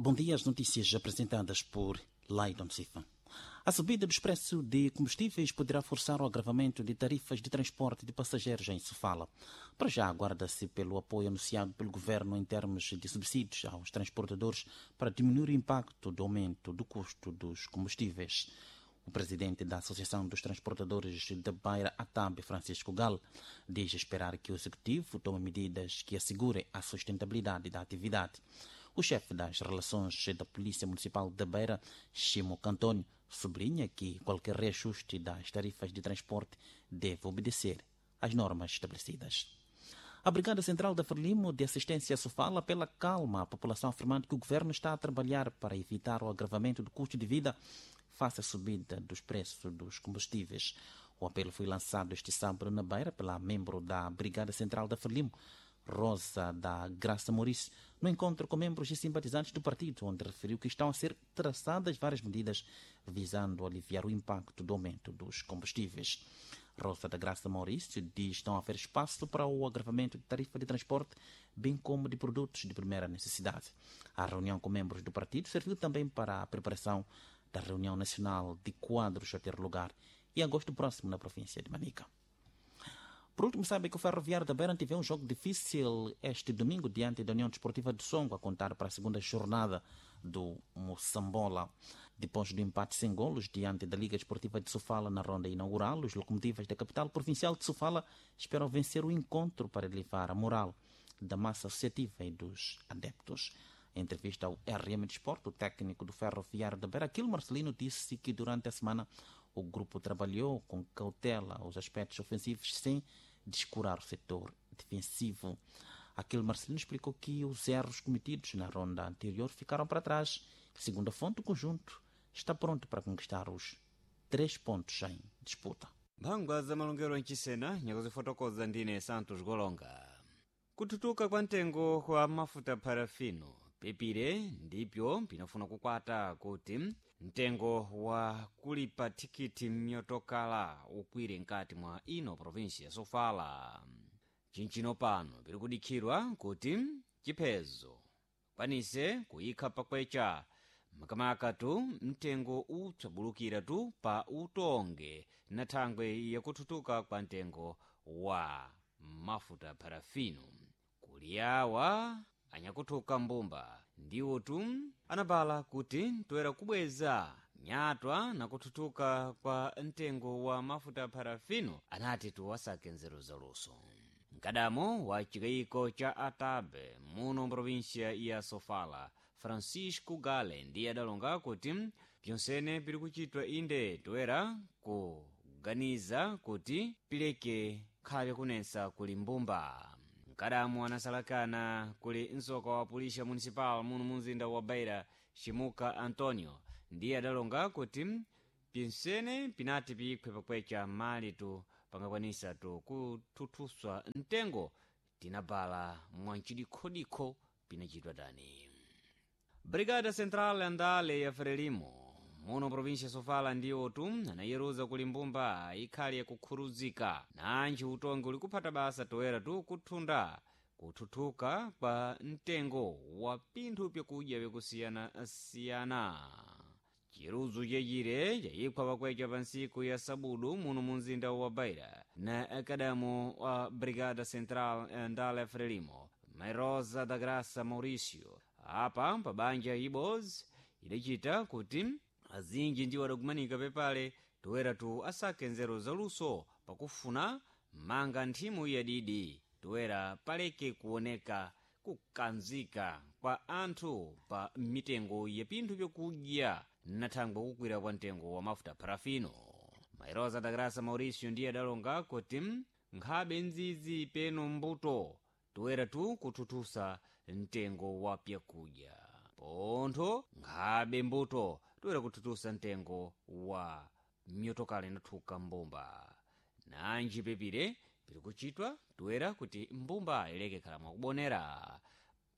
Bom dia, as notícias apresentadas por Laidon Sifa. A subida dos preços de combustíveis poderá forçar o agravamento de tarifas de transporte de passageiros em Sofala. Para já, aguarda-se pelo apoio anunciado pelo governo em termos de subsídios aos transportadores para diminuir o impacto do aumento do custo dos combustíveis. O presidente da Associação dos Transportadores da Beira, ATAB, Francisco Gal, diz esperar que o executivo tome medidas que assegurem a sustentabilidade da atividade. O chefe das relações da Polícia Municipal da Beira, Chimo Cantónio, sublinha que qualquer reajuste das tarifas de transporte deve obedecer às normas estabelecidas. A Brigada Central da Frelimo de Assistência Sofala pela calma à população, afirmando que o governo está a trabalhar para evitar o agravamento do custo de vida face à subida dos preços dos combustíveis. O apelo foi lançado este sábado na Beira pela membro da Brigada Central da Frelimo, Rosa da Graça Maurício, no encontro com membros e simpatizantes do partido, onde referiu que estão a ser traçadas várias medidas visando aliviar o impacto do aumento dos combustíveis. Rosa da Graça Maurício diz não haver espaço para o agravamento de tarifa de transporte, bem como de produtos de primeira necessidade. A reunião com membros do partido serviu também para a preparação da reunião nacional de quadros a ter lugar em agosto próximo na província de Manica. Por último, sabe que o Ferroviário da Beira teve um jogo difícil este domingo diante da União Desportiva de Songo, a contar para a segunda jornada do Moçambola. Depois do empate sem golos diante da Liga Desportiva de Sofala na ronda inaugural, os locomotivas da capital provincial de Sofala esperam vencer o encontro para elevar a moral da massa associativa e dos adeptos. Em entrevista ao RM Desporto, o técnico do Ferroviário da Beira, Aquilo Marcelino, disse que durante a semana o grupo trabalhou com cautela os aspectos ofensivos sem descurar o setor defensivo. Aquele Marcelino explicou que os erros cometidos na ronda anterior ficaram para trás. Segundo a fonte, o conjunto está pronto para conquistar os 3 pontos em disputa. Mphangwa za malongero mchisena nyakuzifotokoza ndine Santos Golonga. Kututuka kwa mtengo kwa mafuta parafino pepire ndipyo pinafuna kukwata kuti mtengo wa kulipa thikiti mnyotokala ukwire nkati mwa ino provinsi ya Sofala. Chinchino pano piri kudikhirwa kuti chiphezo kwanise kuyikha pakwecha makamaka tu mtengo utsabulukira tu pa utonge na thangwe yakututuka kwa mtengo wa mafuta parafino. Kuli awa anyakuthuka mbumba ndiwo tu anabala kuti toera kubweza nyatwa na kuthutuka kwa mtengo wa mafuta parafino, anati tuwasake nzeru zaluso. Mkadamo wa chikayiko cha Atabe muno mprovinsia ya Sofala, Francisco Gale, ndiye adalonga kuti pyonsene pili kuchitwa inde toera kuganiza kuti pileke khale kunensa kuli mbumba. Mkadamu anasalakana kuli msoka wa pulisha municipal muno mumzinda wa Beira, Chimuka Antonio, ndiye adalonga kuti pinsene pinati piikhwe pakwecha mali tu pangakwanisa tu kuthuthuswa mtengo tinabala mwancidikhodikho pinachitwa tani. Brigada Central Andale ya Frelimo muno provincia Sofala ndiwo tu anayeruza kuli mbumba ikhali yakukhuruzika nanji utongi uli kuphata basa toera tu kuthunda kuthuthuka kwa mtengo wa pinthu pyakudya vyakusiyanasiyana. Chiruzu chechire chayikhwa pakwecha pa ntsiku ya sabudu muno mu mzinda wa Beira na akadamo wa Brigada Central Andale Frelimo, Mairosa da Graça Mauricio, apa pa banja ibodzi idachita kuti azinji ndiwo adakumanika pepale toera tu asake nzeru zaluso pakufuna manga nthimu yadidi toera paleke kuoneka kukanzika kwa anthu pa mitengo ya pinthu pyakudya na thangwe kukwira kwa mtengo wa mafuta parafino. Mairosa da Graça Mauricio ndiye adalonga kuti nkhabe nzizi peno mbuto toera tu kuthuthusa mtengo wa pyakudya pontho nkhabe mbuto toera kuthuthusa mtengo wa myotokala inathuka mbumba. Nanji pepire piri kuchitwa toera kuti mbumba ileke khala mwakubonera.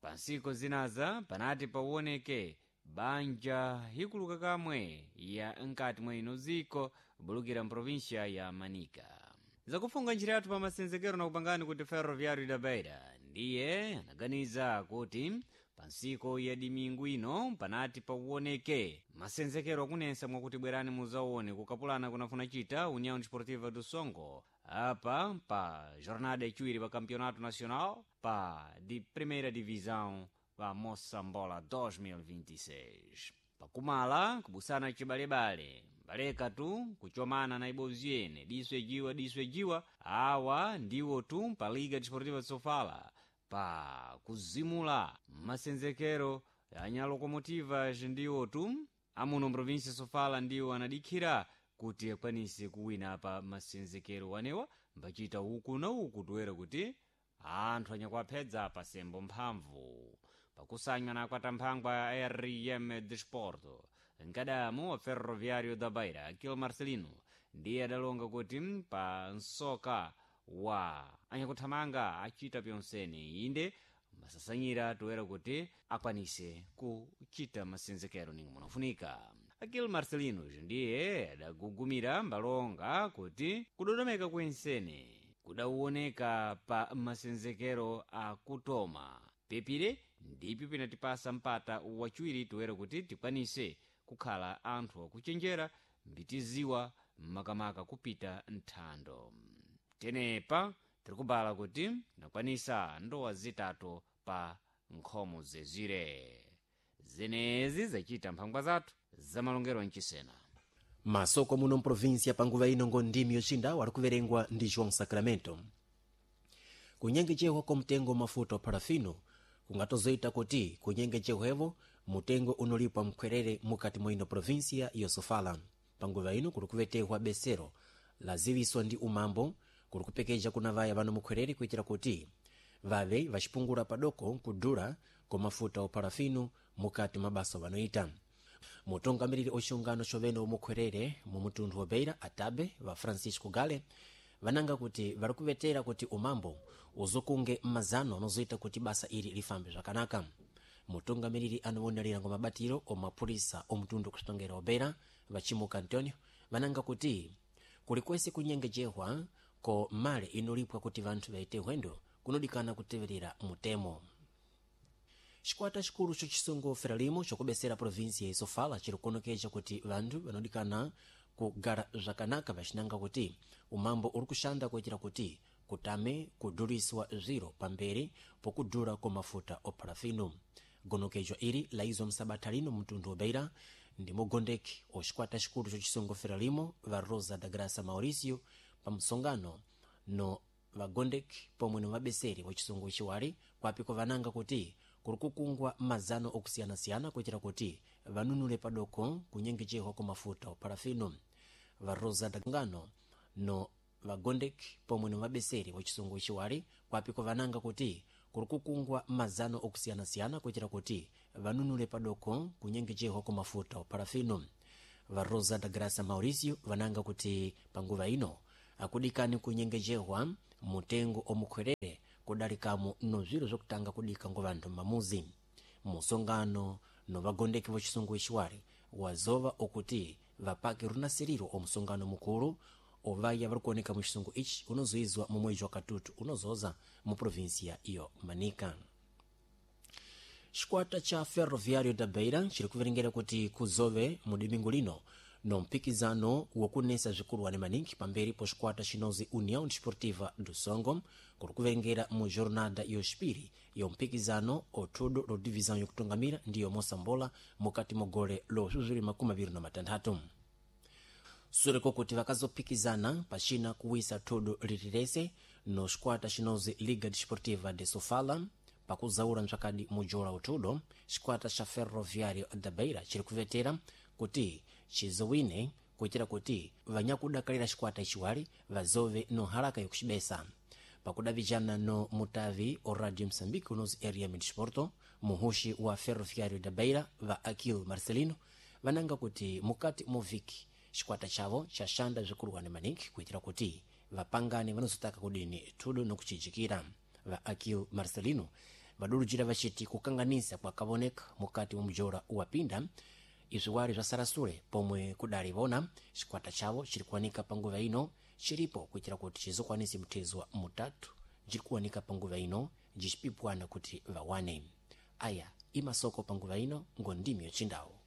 Pansiku zinaza panati pawoneke banja ikuluka kamwe ya nkati mwa ino ziko bulukira mprovinsia ya Manika. Zakufunga njira yathu pa masenzekero na kupangani kuti Ferroviário da Beira ndiye anaganiza kuti Pa nsiku ya dimingu ino panati pauoneke masenzekero akunensa mwakuti bwerani muzaone kukapulana kunafuna chita União Desportiva do Songo apa pa jornada yachiwiri pa Campeonato Nacional pa di Primeira Divisão pa Moçambola 2026. Pakumala kubusana chibalebale baleka tu kuchomana na ibozi ene diswe jiwa diswe jiwa awa ndiwo tu pa Liga Desportiva de Sofala pa kuzimula masenzekero anya locomotivas ndiwo tu amuno mprovinsia Sofala ndiwo anadikhira kuti akwanise kuwina pa masenzekero wanewa mbachita uku na uku toera kuti anthu anyakuaphedza pasembo mphamvu pakusanywa na kwatamphangwa ya RM Desporto nkadamu wa Ferroviário da Beira Aquil Marcelino ndiye adalonga kuti pa nsoka wa anyakuthamanga achita pyonsene inde masasanyira toera kuti akwanise kuchita masenzekero ninga munafunika. Aquil Marcelino ndiye adagugumira mbalonga kuti kudodomeka kwensene kudawoneka pa masenzekero akutoma pepire ndipyo pinatipasa mpata wachiwiri toera kuti tikwanise kukhala anthu akuchenjera mbitiziwa makamaka kupita nthando. Tenepa tirikubala kuti nakwanisa ndowa zitatu pa nkhomo zezire zenezi zachita mphangwa zathu zamalongero mchisena. Masoko muno mprovinsia panguva ino ngo ndimi yocinda wali kuverengwa ndi João Sacramento. Kunyengechehwa kwa mtengo mafuta wa parafino kungatozoita kuti kunyengechehwevo mutengo unolipwa mkhwerere mukati mwa ino provinsia yosofala. Panguva ino kuli kuvetehwa besero laziwiswa ndi umambo kuli kupekeja kuna vaya vano mukhwerere kuitira kuti vave vacipungula padoko kudula kwa mafuta oparafino mukati mabasa vanoita. Mutungamiriri oxungano xovene omukhwerere mu mutunthu wa Beira atabe va Francisco Gale vananga kuti vari kuvetera kuti umambo uzokunge mazano anozoita kuti basa ili lifambe zvakanaka. Mutungamiriri anowonerera ngo mabatiro omapurisa omutundu kusitongera wa Beira vachimuka Antonio vananga kuti kulikwese kunyengejehwa ko male inolipwa kuti vanthu vaite hwendo kunodikana kuteverera mutemo. Xikwata xikulu xa xisungu Frelimo xokubesera provinsia ya Sofala chiri kuonekeja kuti vanthu vanodikana kugara zvakanaka vacinanga kuti umambo uri kuxanda kuitira kuti kutame kuduliswa zviro pamberi pokudula kwa mafuta oparafino. Gonokejwa ili laizwa msabatha lino mtundu wa Beira ndi mugondeki oxikwata xikulu xa xisungu Frelimo va Rosa da Graça Mauricio pa msongano no vagondeki pomwe no vabeseri wa chisungu chiwali kwapiko vananga kuti kuli kukungwa mazano okusiyana-siyana kuitira kuti vanunule padoko kunyengejehwa kwa mafuta oparafino. Va Rosa da ngano no vagondeki pomwe no vabeseri wa chisungu chiwali kwapiko vananga kuti kuli kukungwa mazano okusiyana-siyana kuitira kuti vanunule padoko kunyengejehwa kwa mafuta oparafino. Va Rosa da Graça Mauricio vananga kuti panguva ino akudikani kunyengejehwa mutengo omukhwerere kudalikamo no zviro zvokutanga kudika ngo vanthu mamuzi. Musongano no vagondeki va chisungu ichiwali wazova okuti vapake runasiriro omusongano mukulu ovaya vari kuoneka mu chisungu ichi unozoizwa mu mwezi wa katutu unozoza mu provinsia iyo Manica. Xikwata cha Ferroviário da Beira chiri kuverengera kuti kuzove mu domingo lino no mpikizano wokunesa zvikuluwani maningi pamberi po xikwata xinozi União Desportiva do Songo kuri kuverengera mu jornada yoxipiri yo mpikizano othudo lo divisão yokutungamira ndiyo Moçambola mukati mo gole lo 2026. Sureko kuti vakazopikizana pachina kuwisa thudo lirirese no xikwata xinozi Liga Desportiva de Sofala pakuzaura mtsvakadi mujola uthudo xikwata xa Ferroviário da Beira chiri kuvetera kuti chizowine kuitira kuti vanyakudakalira xikwata ichiwali vazove no haraka yokuxibesa. Pakudavijana no mutavi o Radio Moçambique unozi RM Desporto, muhuxi wa Ferroviário da Beira va Aquil Marcelino vananga kuti mukati mo viki xikwata chavo chaxanda zvikuluwani maningi kuitira kuti vapangane vanozotaka kudini thudo nokucijikira. Va Aquil Marcelino vadulujira vachiti kukanganisa kwakavoneka mukati mwa mujora wapinda izviwali zva sarasule pomwe kudali vona xikwata chavo chiri kuwanika panguva ino chiripo kuitira kuti chizokwanise mthezwa mutatu jiri kuwanika panguva ino jicipipwana kuti vawane. Aya Imasoko panguva ino ngo ndimi yochindawo.